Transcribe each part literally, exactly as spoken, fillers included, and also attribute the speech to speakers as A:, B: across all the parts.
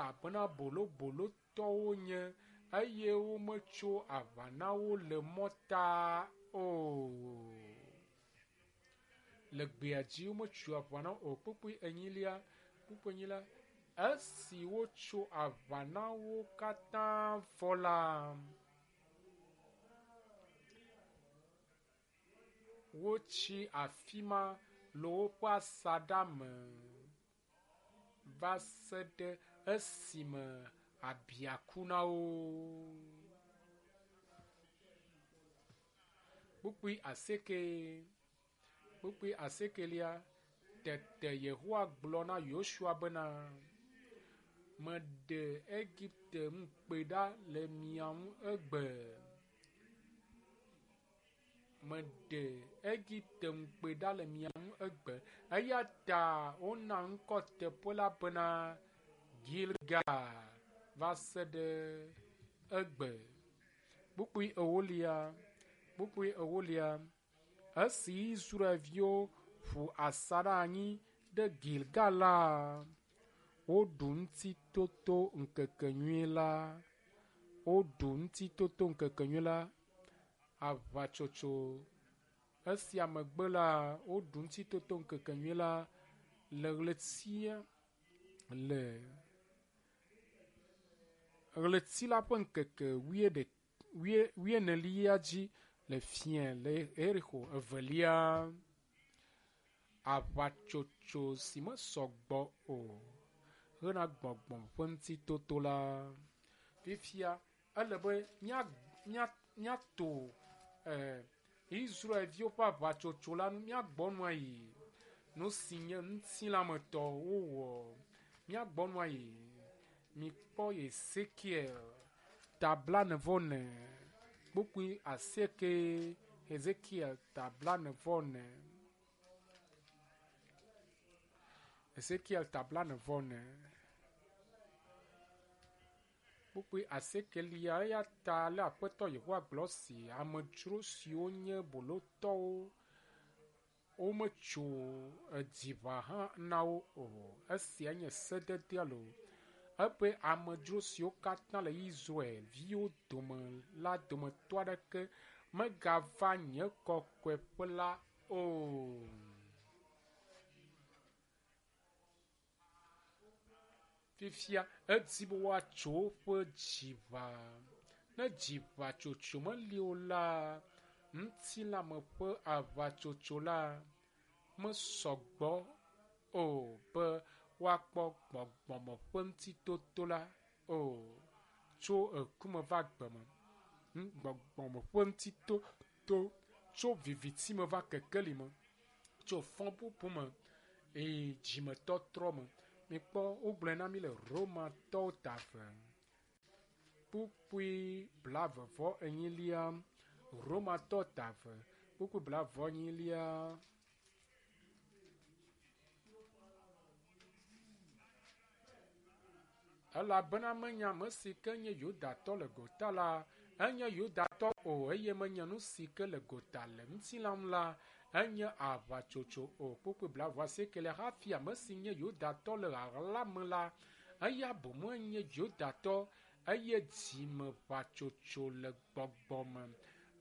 A: Elabena bolobolotɔwo nye eye wometso aʋa na wo le mɔta o. Le gbea dzi wometso aʋa na wo o. Kpukpui enyilia, kpukpui enyilia, esi wotso aʋa na wo katã vɔ la, wotsi afi ma le woƒe asaɖa me va se ɖe esime abia ku na wo. Kpukpui asieke, kpukpui asiekelia, tete Yehowa gblɔ na Yosua bena, meɖe Egipte ŋukpe ɖa le mia ŋu egbe. Meɖe Egipte ŋukpe ɖa le mia ŋu egbe. Eya ta wona ŋkɔ teƒe la bena Gilgal va se ɖe egbe. Kpukpui ewolia, kpukpui ewolia, esi Israelviwo ƒu asaɖa anyi ɖe Gilgal la, woɖu ŋutitoto ŋkekenyui la. Woɖu ŋutitoto ŋkekenyui la. Aʋatsotso. Esia megbe la, woɖu ŋutitoto ŋkekenyui la le ɣletia le ɣleti la ƒe ŋkeke wuie wuienelia dzi le fiẽ le Yerixo evelia. Aʋatsotso si mesɔ gbɔ o hena gbɔgbɔ ƒe ŋutitoto la. Fifia ele be mía mía míato eh, Israelviwo ƒe aʋatsotso la nu míagbɔ nua yi. Nu si nye ŋutilãmetɔ wowɔ. Míagbɔ nua yi. Mikpɔ Ezekiel ta blaene-vɔ-ene kpukpui asieke. Ezekiel ta blaene-vɔ-ene. Ezekiel ta blaene-vɔ-ene. Kpukpui asiekelia eya ta ale Aƒetɔ Yehowa gblɔ si amedzro siwo nye bolotɔwo wometso edziʋa hã na wo o. Esia nye sededea loo. Ebe amedzro siwo katã le Israelviwo dome la dometɔ aɖeke megava nye kɔkɔeƒe la o. Fifia edi be woatso woƒe dziʋa. Ne dziʋatsotso meli o la, ŋutilãme ƒe aʋatsotso la mesɔ gbɔ o be woakpɔ gbɔgbɔme ƒe ŋutitoto la o tso ekume va agbe me. Gbɔgbɔme ƒe ŋutitoto tso viviti me va kekeli me, tso fɔbubu me eye dzimetɔtrɔ me. Mikpɔ wogblɔe na mi le Romatɔwo ta eve. Kpukpui blaeve vɔ enyilia. Romatɔ ta eve. Kpukpui blaeve vɔ enyilia. Elabena menye ame si ke nye Yudatɔ le gota la, enye Yudatɔ o eye menye nu si ke le gota le ŋutilã ŋu la, enye aʋatsotso o. Kpukpui blaeve vɔ asiekelia hafi ame si nye Yudatɔ le ɣaɣla me la, eya boŋ enye Yudatɔ eye dzimeʋatsotso le gbɔgbɔ me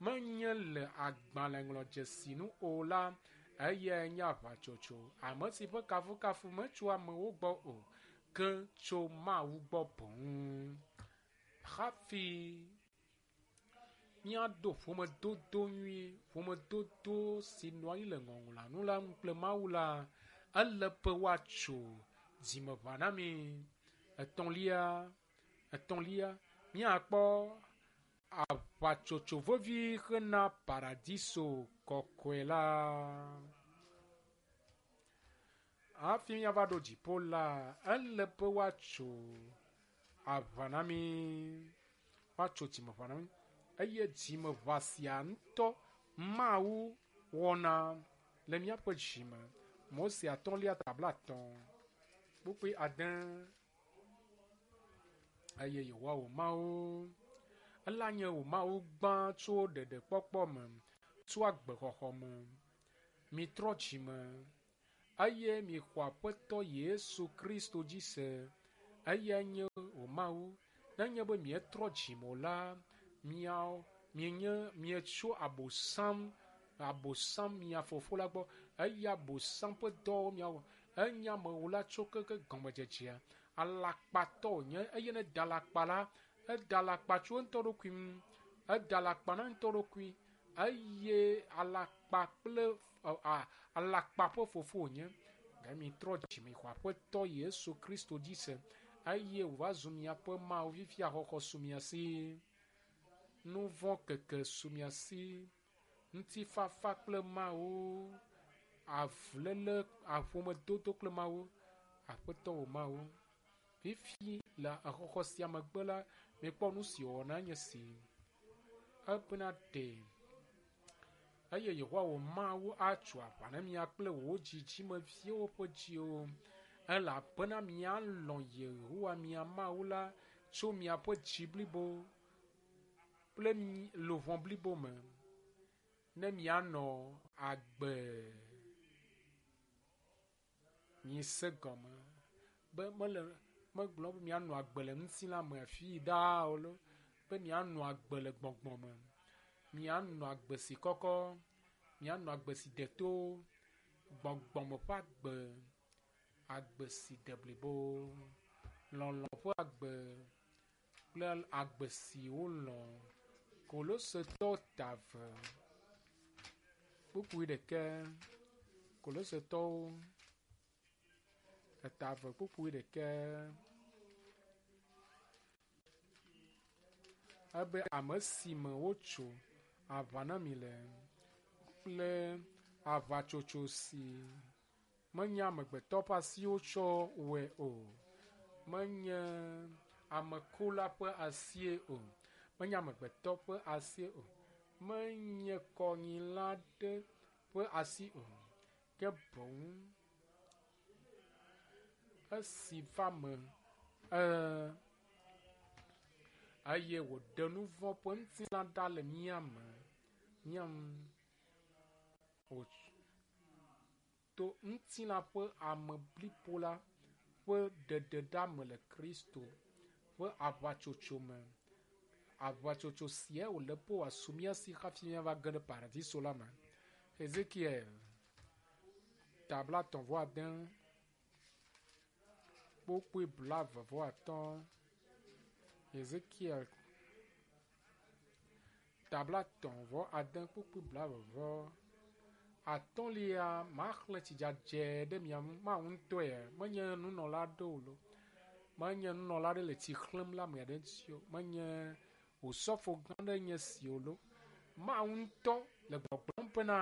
A: menye le agbalẽŋlɔdzesi nu o la, eyae nye aʋatsotso. Ame si ƒe kafukafu metso amewo gbɔ o, ke tso Mawu gbɔ boŋ. Hafi míaɖo ƒomedodo nyui, ƒomedodo si nɔ anyi le ŋɔŋlɔa nu la ŋu kple Mawu la, ele be woatso dzimeʋa na mi. Etɔ̃lia, etɔ̃lia, míakpɔ aʋatsotso vevi hena paradiso kɔkɔe la. Hafi míava ɖo dziƒo la, ele be woatso aʋa na mi. Woatso dzimeʋa na mi. Eye dzimeʋa sia ŋutɔ Mawu wɔna le míaƒe dzime. Mose atɔ̃lia ta blaetɔ̃ kpukpui ade. Eye Yehowa wò Mawu, ela nye wò Mawu gbã tso ɖeɖekpɔkpɔ me, tso agbexɔxɔ me. Mitrɔ dzime eye mixɔ Aƒetɔ Yesu Kristo dzi se Eyae nye wò Mawu. Nenye be mietrɔ dzime o la, miawo mienye mietso abosam abosam mia fofo la gbɔ eye abosam ƒe dɔwo miawɔ. Enye amewula tso keke gɔmedzedzea. Alakpatɔ wònye eye ne da alakpa la, eda alakpa tso eŋutɔ ɖokui ŋu. Eda alakpa na eŋutɔ ɖokui eye alakpa kple a alakpa ƒe fofo wònye. Ge mitrɔ dzime xɔ Aƒetɔ Yesu Kristo dzi se eye wòva zu miaƒe Mawu fifia xɔxɔ su mia si. Nu vɔ̃ keke su mia si. Ŋutifafa kple Mawu, avuléle, aƒomedodo kple Mawu, Aƒetɔ wò Mawu. Fifi le exɔxɔ sia megbe la, mikpɔ nu si wòwɔna nye si. Ebena ɖe eye Yehowa wò Mawu atso aʋa na mia kple wò dzidzimeviwo ƒe dziwo elabena mialɔ̃ Yehowa mia Mawu la tso miaƒe dzi blibo kple luʋɔ blibo me ne mianɔ agbe. Mise gɔme be mele megblɔ be mianɔ agbe le ŋutilã me afi ɖaa o lo, be mianɔ agbe le gbɔgbɔ me. Mianɔ agbe si kɔkɔ, mianɔ agbe si de to, gbɔgbɔme ƒe agbe, agbe si de blibo, lɔlɔ̃ ƒe agbe kple agbe si wolɔ̃. Kolosetɔwo ta eve kpukpui ɖeke. Kolosetɔwo eta eve kpukpui ɖeke. Ebe ame si me wotso aʋa na mi le kple aʋatsotso si menye amegbetɔ ƒe asiwo tsɔ wɔe o. Menye amekula ƒe asie o. Menye amegbetɔ ƒe asie o. Menye kɔnyila aɖe ƒe asi o. Ke boŋ esi va me ee eye wòɖe nu vɔ̃ ƒe ŋutilã ɖa le mía me. Mía ŋu wòto ŋutilã ƒe ame blibo la ƒe ɖeɖeɖa me le Kristo ƒe aʋatsotso me. Aʋatsotso sia wòle be wòasu mía si hafi míava ge ɖe paradiso la me. Ezekiel ta blaetɔ̃ vɔ ade kpukpui blaeve vɔ atɔ̃. Ezekiel ta blaetɔ̃ vɔ ade kpukpui blaeve vɔ atɔ̃lia maxlẽ tsi dzadzɛ ɖe mia ŋu. Mawu ŋutɔe menye nunɔla aɖe o lo. Menye nunɔla aɖe le tsi xlẽm le ame aɖe ŋuti o. Menye osɔfo gã aɖe nye si o lo. Mawu ŋutɔ le gbɔgblɔm bena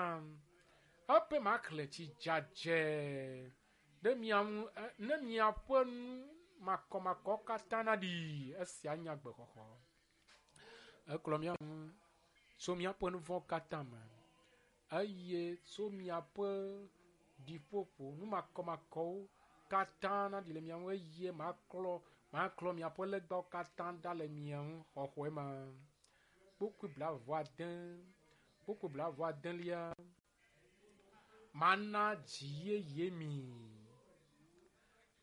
A: eƒe maxlẽ tsi dzadzɛ ɖe mia ŋu ne miaƒe nu makɔmakɔ katã naɖi. Esia nye agbexɔxɔ. Eklɔ mía ŋu tso míaƒe nu vɔ̃ katã me eye tso miaƒe ɖiƒoƒo nu makɔmakɔwo katã naɖi le mia ŋu eye maklɔ maklɔ miaƒe legbawo katã ɖa le mia ŋu xɔxɔe ma. Kpukpui blaeve vɔ ade kpukpui blaeve vɔ adelia mana dzi yeye mi.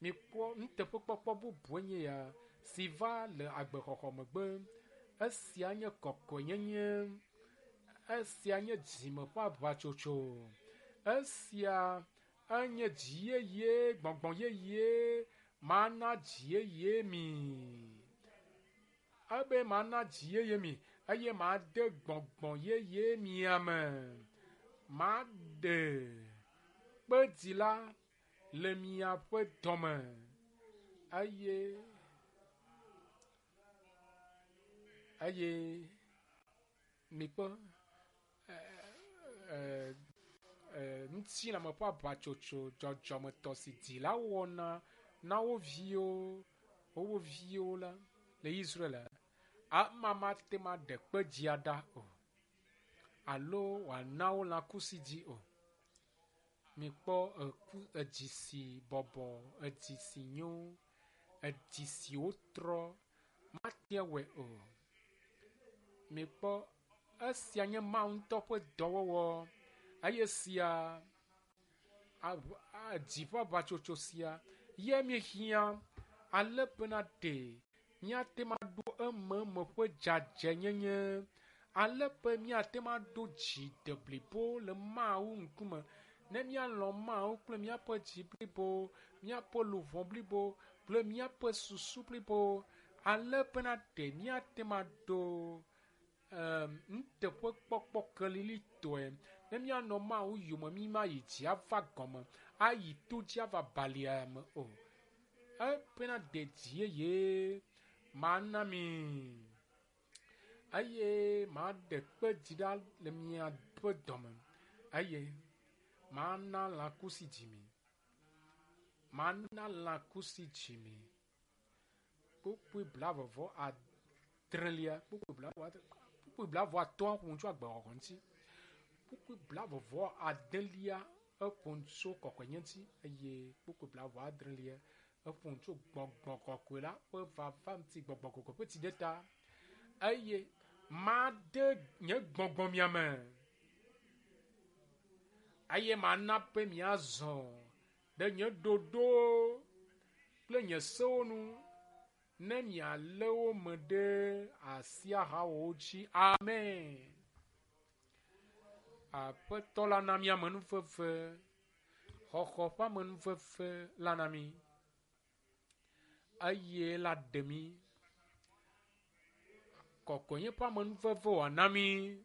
A: Mikpɔ nuteƒekpɔkpɔ bubue nye ya si va le agbexɔxɔ megbe. Esia nye kɔkɔenyenye. Esia nye dzime ƒe aʋatsotso. Esia enye dzi yeye, gbɔgbɔ yeye. Mana dzi yeye mi. Ebe mana dzi yeye mi eye made gbɔgbɔ yeye mia me. Maɖe kpedzi la le miaƒe dɔme eye eye mikpɔ ŋutilãme ƒe aʋatsotso dzɔdzɔmetɔ si dzilawo wɔna na wo viwo wo viwo la le Israel ama mate ŋu aɖe kpedzia ɖa o alo wòana wo lãkusi dzi o. Mikpɔ eku edzi si bɔbɔ, edzi si nyo, edzi si wotrɔ mate wɔe o. Mikpɔ esia nye Mawu ŋutɔ ƒe dɔwɔwɔ eye sia dzi ƒe aʋatsotso sia ye míehiã Ale bena ɖe míate ŋu aɖo ememe ƒe dzadzɛnyenye. Ale be míate ŋu aɖo dzi deblibo le Mawu ŋkume. Ne míalɔ̃ Mawu kple míaƒe dzi blibo, míaƒe luʋɔ blibo kple míaƒe susu blibo. Ale bena ɖe míate ŋu aɖo nuteƒekpɔkpɔ kelilitɔe. Ne míanɔ Mawu yome mí mayi dzi ava gɔme ayi to dzi ava balia me o. Ebena ɖe dzi yeye mana mi eye maɖe kpe dzi ɖa le miaƒe dɔme eye mana lãkusi dzi mi. Mana lãkusi dzi mi. Kpukpui blavevɔ adrelia, kpukpui blavɔ adre, kpukpui blavɔ atɔ̃a ƒo nu tso agbexɔxɔ ŋuti. Kpukpui blavevɔ adelia eƒo nu tso kɔkɔenye ŋuti eye kpukpui blavɔ adrelia eƒo nu tso gbɔgbɔ kɔkɔe la ƒe vava ŋuti, gbɔgbɔ kɔkɔe ƒe tsideta. Eye made nye gbɔgbɔ mia me eye mana be miazɔ ɖe nye ɖoɖowo kple nye sewo nu ne mialé wo me ɖe asi ahawɔ wo dzi. Amen. Aƒetɔ la na mí amenuveve, xɔxɔ ƒe amenuveve la na mí eye la ɖe mí. Kɔkɔenye ƒe amenuveve wòana mí.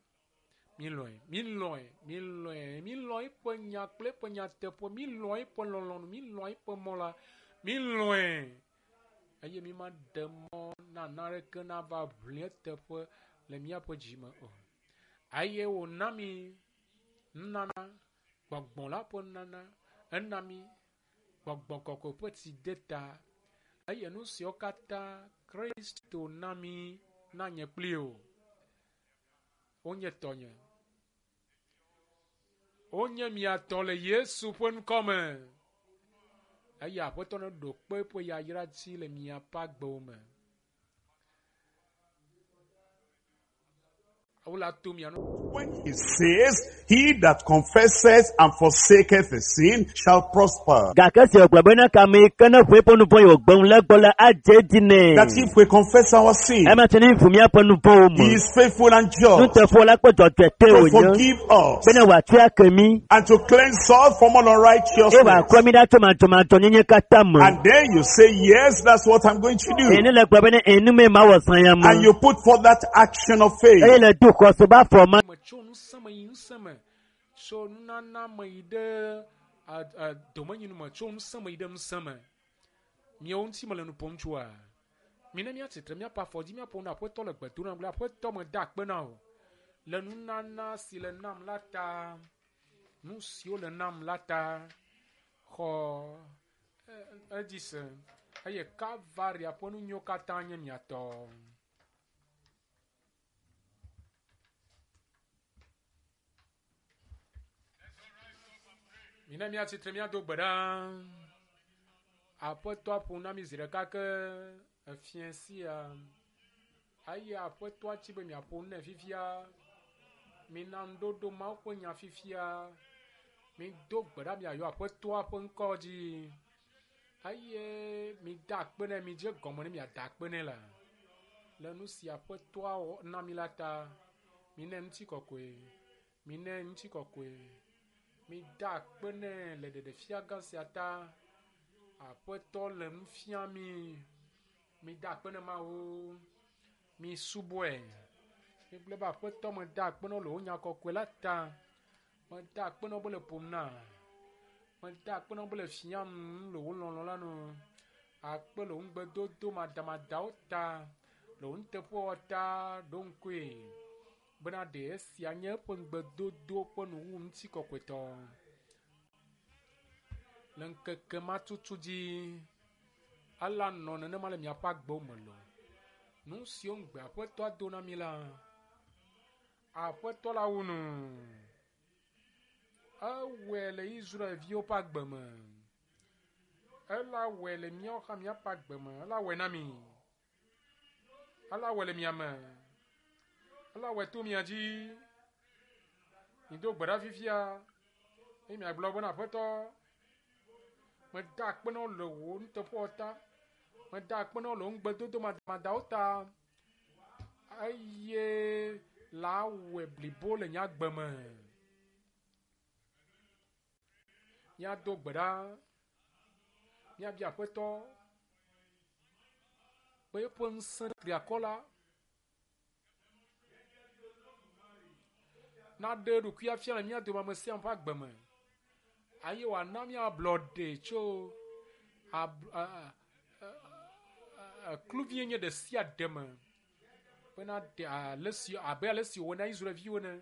A: Mílɔ̃e, mílɔ̃e, mílɔ̃e, mílɔ̃ eƒe nya kple eƒe nyateƒe, mílɔ̃ eƒe lɔlɔ̃nu, mílɔ̃ eƒe mɔ la, mílɔ̃e. Eye mi maɖe mɔ na naneke nava ʋli eteƒe le míaƒe dzi me o. Eye wòna mí nunana, gbɔgbɔ la ƒe nunana, ena mí gbɔgbɔ kɔkɔe ƒe tsideta. Eye nu siawo katã Kristo na mí na nye kpli wò. Wonye tɔnye. Wonye mia tɔ le Yesu ƒe ŋkɔ me. Eye Aƒetɔ neɖo kpe eƒe yayra dzi le miaƒe agbewo me. Wola to mia nu.
B: When he says, he that confesseth and forsaketh his sin shall prosper.
C: Gake si wògblɔ bena kame yi ke ne ʋu eƒe nu vɔ̃ yi wògbe ŋu le egbɔ la adze edzi nɛ.
B: That if we confess our sin,
C: Ema tse ne ʋu míaƒe nu vɔ̃wo
B: he
C: me.
B: is faithful and just
C: Nuteƒewɔla la kple dzɔdzɔetɔe
B: to
C: wònye
B: forgive us
C: bene wòatsɔe ake mí
B: and to cleanse us from all
C: eye
B: unrighteousness.
C: wòaklɔ mí ɖa tso madzɔmadzɔnyenye katã me.
B: And then you say, yes, that's what I'm going to
C: Eye
B: do.
C: ne le gblɔ bena enu mee mawɔ zã ya me.
B: And you put forth that action of
C: Eye
B: faith.
C: le do xɔse be afɔ ma.
A: Me tso ŋusẽ me yi ŋusẽ me, tso nunana me yi ɖe a, a, domenyinu me, tso ŋusẽ me yi ɖe ŋusẽ me. Miawo ŋuti mele nu ƒom tsoa? Mi ne míatsitre míaƒe afɔ dzi míaƒo nu Aƒetɔ le gbe dom na gblɔ Aƒetɔ meda akpe na wò le nunana si le nam la ta, nu siwo le nam la ta. Xɔ e, edzi se eye Kalvaria ƒe nu nyuiwo katã nye mia tɔ. Mi ne míatsitre míado gbe ɖa. Aƒetɔ ƒo na mí zi ɖeka ke efia sia. Eye Aƒetɔa tsi be miaƒo nu nɛ fifia. Mina ŋuɖoɖo Mawu ƒe nya fifia. Mido gbe ɖa miayɔ Aƒetɔa ƒe ŋkɔ dzi. Eye mida akpe nɛ, midze gɔme ne miada akpe nɛ la. Le nu si Aƒetɔa wɔ na mi la ta, minɛ ŋutikɔkɔe, minɛ ŋutikɔkɔe. Mida akpe nɛ le ɖeɖefia gã sia ta. Aƒetɔ le nu fia mi. Mida akpe nɛ Mawu. Mi subɔe. Migblɔ be Aƒetɔ meda akpe na wò le wò nya kɔkɔe la ta. Meda akpe na wò be le ƒom na. Meda akpe na wò be le fiam nu le wò lɔlɔ̃ la nu. Akpe le wò ŋugbedodo madamadawo ta, le wò nuteƒewɔwɔ ta ɖo ŋkue bena ɖe esia nye eƒe ŋugbedodo ƒe nuwuwu ŋutikɔkɔetɔ. Le ŋkeke ma tutu dzi, ela nɔ nenema le miaƒe agbewo me loo. Nu siwo ŋugbe Aƒetɔa do na mi la, Aƒetɔ la wu nu. Ewɔe le Israelviwo ƒe agbe me. Ela wɔe le míawo hã míaƒe agbe me. Ela wɔe na mi. Ela wɔe le mia me. Ela wɔe to mia dzi. Mido gbe ɖa fifia eye miagblɔ bena Aƒetɔ, meda akpe na wò le wò nuteƒewɔwɔ ta. Meda akpe na wò le wò ŋugbedodo madamadawo ta eye la wɔe blibo le nye agbe me. Míado gbe ɖa, míabia Aƒetɔ be eƒe ŋusẽ triakɔ la naɖe eɖokui afia le mía dome ame sia ame ƒe agbe me eye wòana míablɔɖe tso ab a a kluvinyenye ɖe sia ɖe me bena ɖe ale si abe ale si wòwɔ na Israelviwo ene.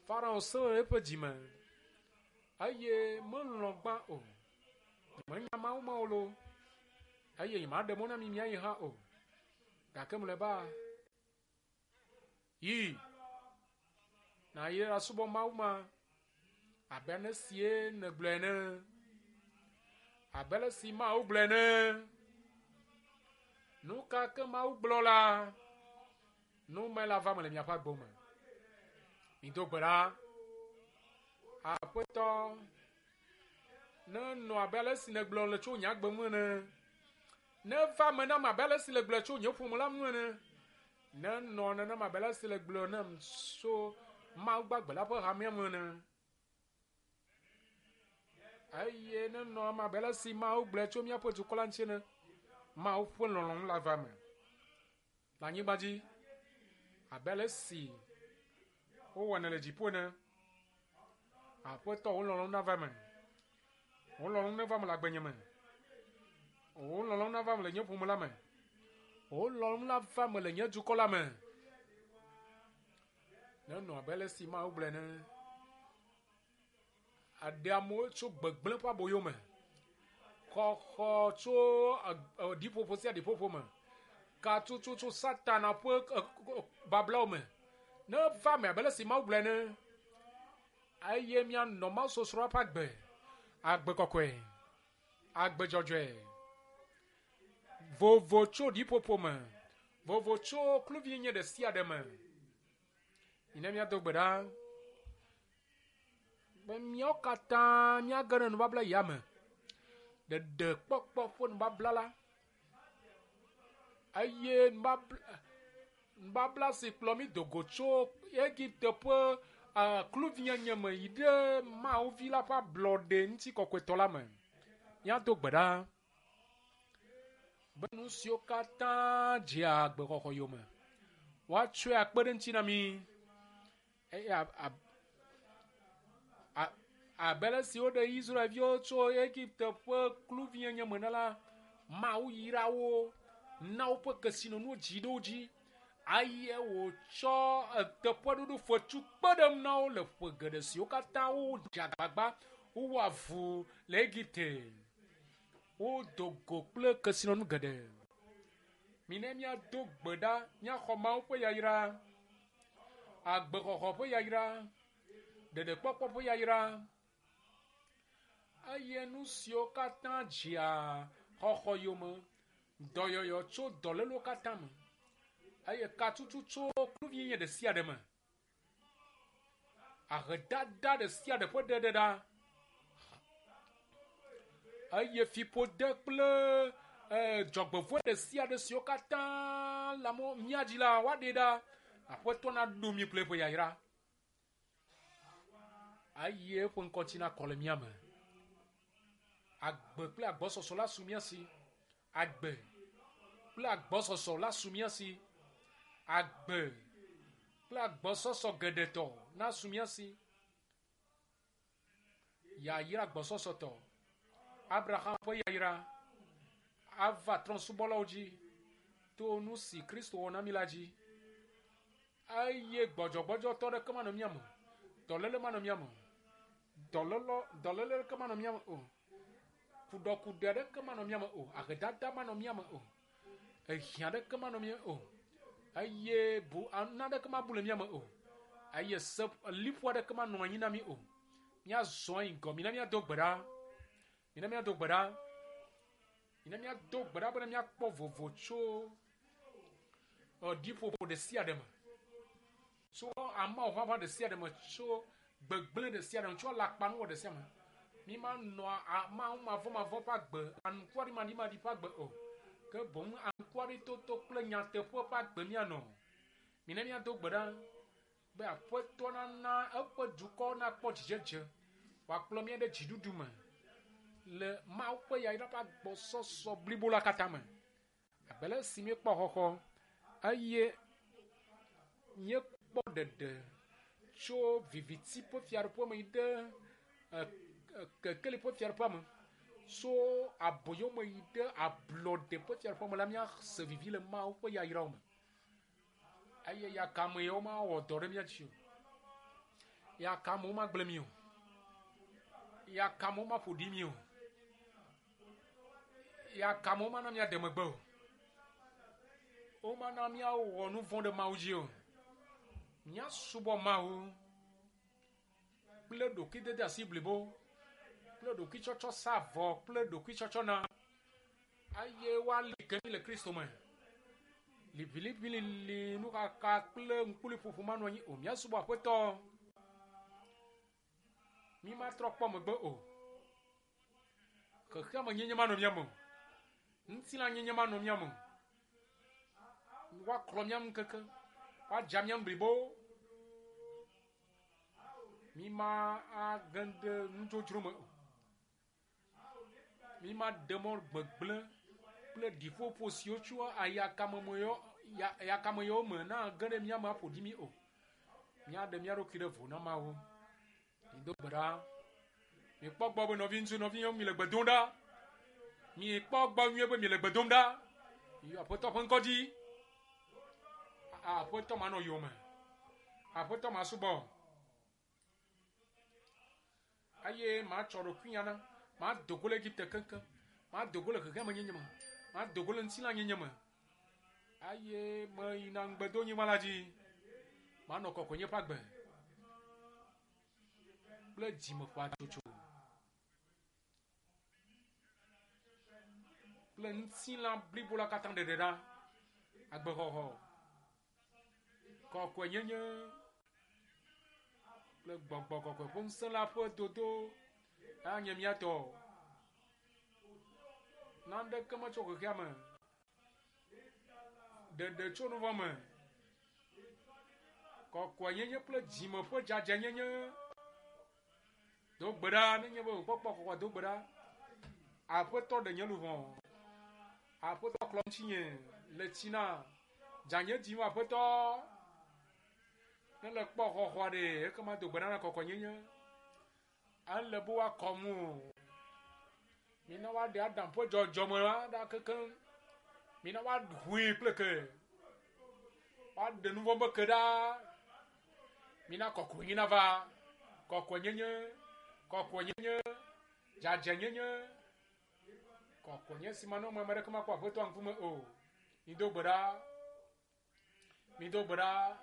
A: Farao sẽ le eƒe dzime eye melɔ̃ gbã o. Menya Mawu ma o loo eye nyemaɖe mɔ na mi miayi hã o. Gake mlɔeba yi nàyi asubɔ Mawu ma abe ale sie nègblɔe ene, abe ale si Mawu gblɔe ene. Nu ka ke Mawu gblɔ la, nu me la va me le miaƒe agbe me. Mido gbe ɖa. Aƒetɔ, nenɔ abe ale si nègblɔ le tso nye agbe ŋu ene. Neva me nam abe ale si nègblɔe tso nye ƒome la ŋu ene. Nenɔ nenema abe ale si nègblɔ nam tso Mawu gbagbe la ƒe hamea ŋu ene. Eye nenɔ eme abe ale si Mawu gblɔe tso míaƒe dukɔ la ŋuti ene. Mawu ƒe lɔlɔ̃nu la va eme le anyigba dzi abe ale si wowɔnɛ le dziƒo ene. Aƒetɔ, wò lɔlɔ̃nu nava eme. Wò lɔlɔ̃nu neva eme le agbenye me. Wò lɔlɔ̃nu nava eme le nye ƒome la me. Wò lɔlɔ̃nu nava eme le nye dukɔ la me. Nenɔ abe ale si Mawu gblɔe ene. Aɖe amewo tso gbegblẽ ƒe aboyo me. Xɔxɔ tso ɖiƒoƒo sia ɖiƒoƒo me. Katutu tso Satana ƒe bablawo me. Neva eme abe ale si Mawu gblɔe ene. Eye míanɔ Mawu sɔsrɔ̃ ƒe agbe. Agbe kɔkɔe. Agbe dzɔdzɔe. Vovo tso ɖiƒoƒo me. Vovo tso kluvinyenye ɖe sia ɖe me. Mina míado gbe ɖa be míawo katã míage ɖe nubabla ya me. Ɖeɖekpɔkpɔ ƒe nubabla la eye nubabla nubabla si kplɔ mí do go tso Egipte ƒe kluvinyenye me yi ɖe Mawu vi la ƒe ablɔɖe ŋutikɔkɔetɔ la me. Míado gbe ɖa be nu siwo katã dzea agbexɔxɔ yome woatsɔe akpe ɖe ŋuti na mí eye abe ale si woɖe Israelviwo tso Egipte ƒe kluvinyenye me la, Mawu yra wo na woƒe kesinɔnuwo dzi ɖe wo dzi eye wòtsɔ teƒeɖoɖo fetu kpe ɖe na wo le ƒe geɖe siwo katã wodze agbagba wowɔ avu le Egipte. Wodo go kple kesinɔnu geɖe. Mina míado gbe ɖa míaxɔ Mawu ƒe yayra, agbexɔxɔ ƒe yayra, ɖeɖekpɔkpɔ ƒe yayra eye nu siwo katã dzea xɔxɔ yome, dɔyɔyɔ tso dɔlélewo katã me eye katutu tso kluvinyenye ɖe sia ɖe me, ahedada ɖe sia ɖe ƒe ɖeɖeɖa eye fiƒode kple dzɔgbevɔ̃e ɖe sia ɖe siwo katã le amewo mía dzi la woaɖee ɖa. Aƒetɔ naɖo mí kple eƒe yayra eye eƒe ŋkɔtsi nakɔ le mía me. Agbe kple agbɔsɔsɔ la su mía si. Agbe kple agbɔsɔsɔ la su mía si. Agbe kple agbɔsɔsɔ geɖetɔ nasu mía si. Yayra agbɔsɔsɔtɔ. Abraham ƒe yayra ava trɔ̃subɔlawo dzi to nu si Kristo wɔ na mí la dzi. Eye gbɔdzɔgbɔdzɔtɔ ɖeke manɔ mía me. Dɔléle manɔ mía me. Dɔlɔlɔ dɔléle ɖeke manɔ mía me o. Kuɖɔkuɖe ɖeke manɔ mía me o. Ahedada manɔ mía me o. Ehiã ɖeke manɔ mía me o. Eye bu naɖeke mabu le mía me o. Eye se liƒo aɖeke manɔ anyi na mí o. Míazɔ yi ŋgɔ. Mina míado gbe ɖa. Mina míado gbe ɖa. Mina míado gbe ɖa bena míakpɔ vovo tso ɖiƒoƒo ɖe sia ɖe me. Tso amewo ʋaʋã ɖe sia ɖe me, tso gbegblẽ ɖe sia ɖe me, tso alakpanuwɔ ɖe sia me. Mi ma nɔ Mawu mavɔmavɔ ƒe agbe, anukwarimaɖimaɖi ƒe agbe o. Ke boŋ anukwaritoto kple nyateƒe ƒe agbe míanɔ. Mina míado gbe ɖa be Aƒetɔ nana eƒe dukɔ nakpɔ dzidzedze, wòakplɔ mía ɖe dziɖuɖu me le Mawu ƒe yayra ƒe agbɔsɔsɔ blibo la katã me. Abe ale si míekpɔ xɔxɔ eye míekpɔ ɖeɖe tso viviti ƒe fiaɖuƒe me yi ɖe kekeli ƒe fiaɖuƒea me, tso aboyome yi ɖe ablɔɖe ƒe fiaɖuƒea me la, míase vivi le Mawu ƒe yayrawo me. Eye yakame yawo mawɔ dɔ ɖe mía dzi o. Yakamewo magblẽ mí o. Yakamewo maƒo ɖi mí o. Yakamewo mana míaɖe megbe o. Womana míawɔ nu vɔ̃ ɖe Mawu dzi o. Míasubɔ Mawu kple ɖokuidede asi blibo, kple ɖokuitsɔtsɔ sa vɔ kple ɖokuitsɔtsɔ na, eye woali ke mí le Kristo me. Liʋiliʋilili, nuxaxa kple ŋkuliƒoƒo manɔ anyi o. Míasubɔ Aƒetɔ. Mí matrɔ kpɔ megbe o. Xexeame nyenye manɔ mía me o. Ŋutilã nyenye manɔ mía me o. Woaklɔ mía ŋu keke, woadza mía ŋu blibo. Mí ma age ɖe nudzodzro me o. Mí ma ɖe mɔ gbegblẽ kple ɖiƒoƒo siwo tso ayakameyawo me na ge ɖe mía me aƒo ɖi mí o. Míaɖe mía ɖokui ɖe vo na Mawu. Mido gbe ɖa. Mikpɔ gbɔ be nɔviŋutsu, nɔvinyɔnu mi le gbe dom ɖa. Mikpɔ gbɔ nyuie be mi le gbe dom ɖa. Miyɔ Aƒetɔ ƒe ŋkɔ dzi. Aƒetɔ manɔ yowòme. Aƒetɔ masubɔ. Eye matsɔ ɖokuinya na. Mado go le Egipte keŋkeŋ. Mado go le xexeame nyenye me. Mado go le ŋutilã nyenye me. Eye meyina ŋugbedonyigba la dzi. Manɔ kɔkɔenye ƒe agbe kple dzimeƒatsotso kple ŋutilã blibo la katã ɖeɖe ɖa. Agbexɔxɔ, kɔkɔenyenye kple gbɔgbɔ kɔkɔe ƒe ŋusẽ la ƒe dodo anye mía tɔ. Naneke metso xexea me. Ɖeɖe tso nu vɔ̃ me. Kɔkɔenyenye kple dzime ƒe dzadzɛnyenye. Do gbe ɖa nenye be wòkpɔkpɔ kɔkɔ do gbe ɖa. Aƒetɔ ɖe nye luʋɔ. Aƒetɔ klɔ ŋutinye le tsi na. Dzanye dzi ŋu Aƒetɔ. Ne le kpɔ xɔxɔa ɖe ekema do gbe ɖa na kɔkɔenyenye. Ele be woakɔ ŋu o. Mina woaɖe Adam ƒe dzɔdzɔme la ɖa kekeŋ. Mina woaʋui kple ke. Woaɖe nu vɔ̃ be ke ɖa. Mina kɔkɔenyenye nava. Kɔkɔenyenye, kɔkɔenyenye, dzadzɛnyenye. Kɔkɔenye si manɔ ame aɖeke makpɔ Aƒetɔ ŋkume o. Mido gbe ɖa. Mido gbe ɖa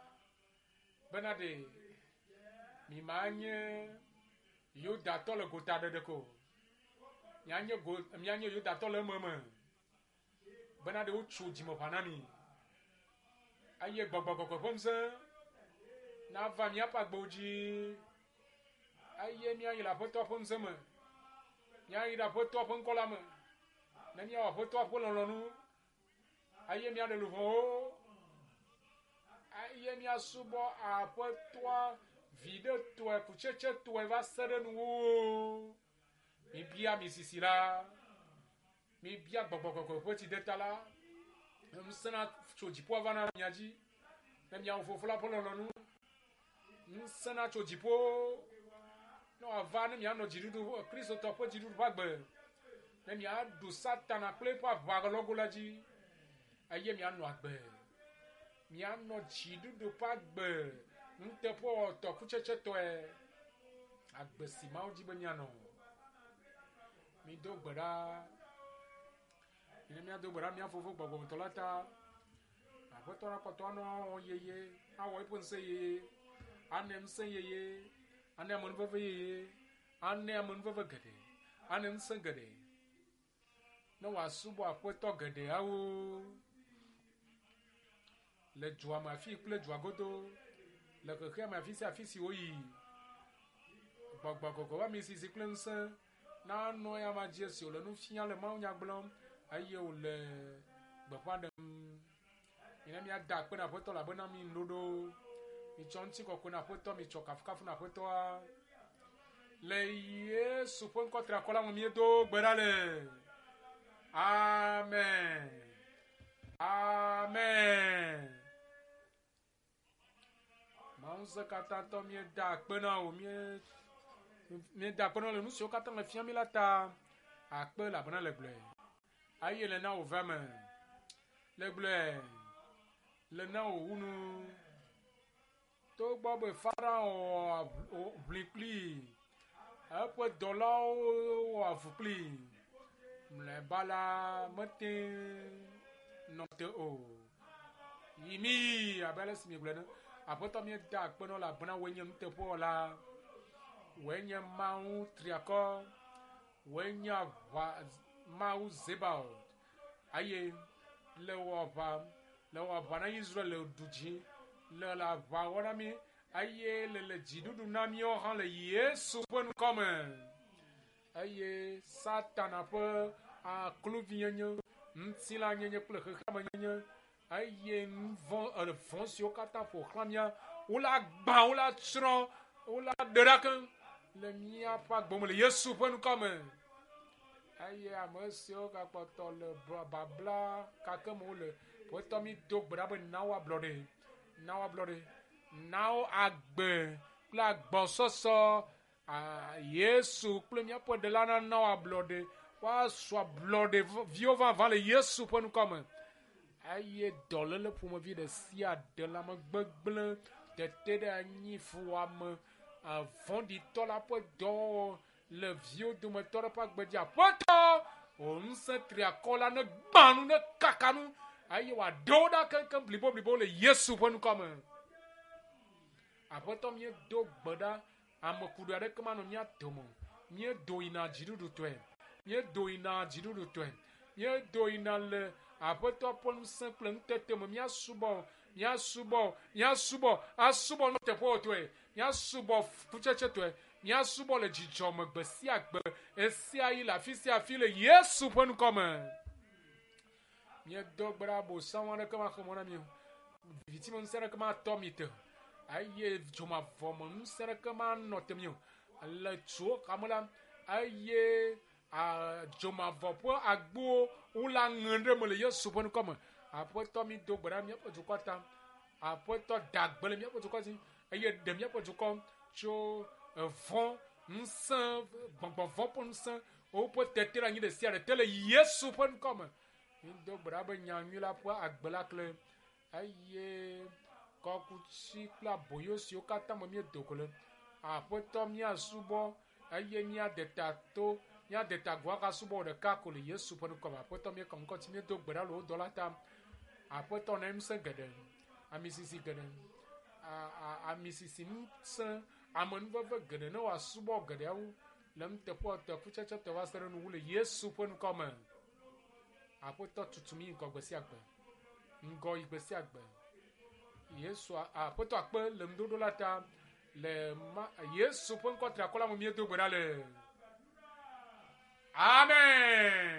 A: bena ɖe mi ma nye Yudatɔ le gota ɖeɖe ko. Mianye go, mianye Yudatɔ le ememe. Bena ɖe wotso dzimeƒã na mi. Eye gbɔgbɔ kɔkɔe ƒe ŋusẽ nava míaƒe agbewo dzi. Eye míayi le Aƒetɔ ƒe ŋusẽ me. Míayi ɖe Aƒetɔ ƒe ŋkɔ la me. Ne míawɔ Aƒetɔ ƒe lɔlɔ̃nu. Eye míaɖe luʋɔwo. Eye míasubɔ Aƒetɔa viɖetɔe, kutsetsetɔe va se ɖe nuwuwu. Mibia mi sisi la. Mibia gbɔgbɔ kɔkɔe ƒe tsideta la. Ŋusẽ na tso dziƒoa va na mia dzi. Ne miawɔ fofo la ƒe lɔlɔ̃nu. Ŋusẽ na tso dziƒo. Ne wòava ne mianɔ dziɖuɖu, Kristotɔ ƒe dziɖuɖu ƒe agbe. Ne miaɖu Satana kple eƒe aʋalɔgo la dzi. Eye mianɔ agbe. Mianɔ dziɖuɖu ƒe agbe. Nuteƒewɔwɔtɔ kutsetsetɔe. Agbe si Mawu dzi be mianɔ. Mido gbe ɖa. Mine míado gbe ɖa mía fofo gbɔgbɔmetɔ la ta. Aƒetɔ la kpɔtɔ anɔ yeye, awɔ eƒe ŋusẽ yeye, ane ŋusẽ yeye, ane amenuveve yeye, ane amenuveve geɖe, ane ŋusẽ geɖe. Ne wòasubɔ Aƒetɔ geɖeawo le dua me afi kple dua godo, le xexea me afi sia afi si woyi. Gbɔgbɔ kɔkɔe ƒe amisisi kple ŋusẽ Nanɔ ya ma dzi esi wòle nu fiam le mawunya gblɔm eye wòle gbeƒã ɖem. Mina míada akpe na Aƒetɔ elabena mi ŋuɖoɖo. Mitsɔ ŋutikɔkɔe na Aƒetɔ, mitsɔ kafukafu na Aƒetɔa. Le Yesu ƒe ŋkɔ triakɔ la me míedo gbe ɖa le. Amen. Amen. Mawu ŋusẽkatãtɔ míeda akpe na wò mí míeda akpe na wò le nu siwo katã le fia mí la ta. Akpe elabena le gblɔe. Eye le na wò veme. Le gblɔe. Le na wò wu nu. Togbɔ be Farao wɔ ʋli kplii. Eƒe dɔlawo wɔ avu kplii. Mlɔeba la mete nɔ te o. Yi mi abe ale si miegblɔe ene. Aƒetɔ míeda akpe na wò elabena wòe nye nuteƒewɔla. Wòe nye Mawu triakɔ. Wòe nye aʋa Mawu Zebaot. Eye le wò aʋa le wò aʋa na Israel le ɖu dzi le le aʋa wɔm na mí eye le le dziɖuɖu na míawo hã le Yesu ƒe ŋkɔme. Eye Satana ƒe akluvinyenye, ŋutilãnyenye kple xexeamenyenye eye nu vɔ̃ vɔ̃ siwo katã ƒo xlã mía wola gbã, wola tsrɔ̃, wola ɖe ɖa keŋ le míaƒe agbe me le Yesu ƒe ŋkɔme. Eye ame siwo gakpɔtɔ le babla kake me wole, Aƒetɔ mi do gbe ɖa be na wo ablɔɖe, na wo ablɔɖe, na wo agbe kple agbɔsɔsɔ. Yesu kple míaƒe ɖela nana wo ablɔɖe, woazu ablɔɖe viwo vavã le Yesu ƒe ŋkɔme. Eye dɔléle ƒomevi ɖe sia ɖe lãmegbegblẽ, tete ɖe anyi, fuwɔame, vɔ̃ɖitɔ la ƒe dɔwɔwɔ le viwo dometɔ ɖe ƒe agbe dzi. Aƒetɔ, wò ŋusẽ triakɔ la ne gbã nu, ne kaka nu eye wòaɖe wo ɖa keŋkeŋ bliboblibo le Yesu ƒe ŋkɔme. Aƒetɔ míedo gbe ɖa ame ku ɖe aɖeke manɔ mía dome o. Míedo yina dziɖuɖutɔe. Míedo yina dziɖuɖutɔe. Míedo yina le Aƒetɔ ƒe ŋusẽ kple ŋutete me. Míasubɔ, míasubɔ, míasubɔ, asubɔ nuteƒewɔtɔe. Míasubɔ kutsetsetɔe. Míasubɔ le dzidzɔ me gbe sia gbe, esia yi le afi sia afi le Yesu ƒe ŋkɔme. Míedo gbe ɖa abosam aɖeke maxe mɔ na mí o. Viviti me ŋusẽ aɖeke matɔ mí te o. Eye dzomavɔ me ŋusẽ aɖeke manɔ te mí o. Le tsuwo xame la, eye dzomavɔ ƒe agbowo wola ŋe ɖe me le Yesu ƒe ŋkɔme. Aƒetɔ mi do gbe ɖa míaƒe dukɔ ta. Aƒetɔ da gbe le míaƒe dukɔ dzi eye ɖe míaƒe dukɔ tso vɔ̃ ŋusẽ, gbɔgbɔ vɔ̃ ƒe ŋusẽ, woƒe tete ɖe anyi ɖe sia ɖe te le Yesu ƒe ŋkɔme. Mi do gbe ɖa be nyanyui la ƒe agbe la kle eye kɔkuti kple aboyo siwo katã me míedo go le. Aƒetɔ míasubɔ eye míade ta to, míade ta go agasubɔ ɖeka ko le Yesu ƒe ŋkɔme. Aƒetɔ míekɔ ŋkɔ dzi míedo gbe ɖa le wò dɔla ta. Aƒetɔ na ŋusẽ geɖe, amisisi geɖe, amisisi ŋusẽ, amenuveve geɖe ne wòasubɔ geɖeawo le nuteƒewɔtɔ kutsetsetɔ va se ɖe nuwu le Yesu ƒe ŋkɔme. Aƒetɔ tutu mí ŋgɔ gbe sia gbe, ŋgɔ yi gbe sia gbe. Yesu Aƒetɔ akpe le ŋuɖoɖo la ta le ma Yesu ƒe ŋkɔ triakɔ la me míedo gbe ɖa le. Amen.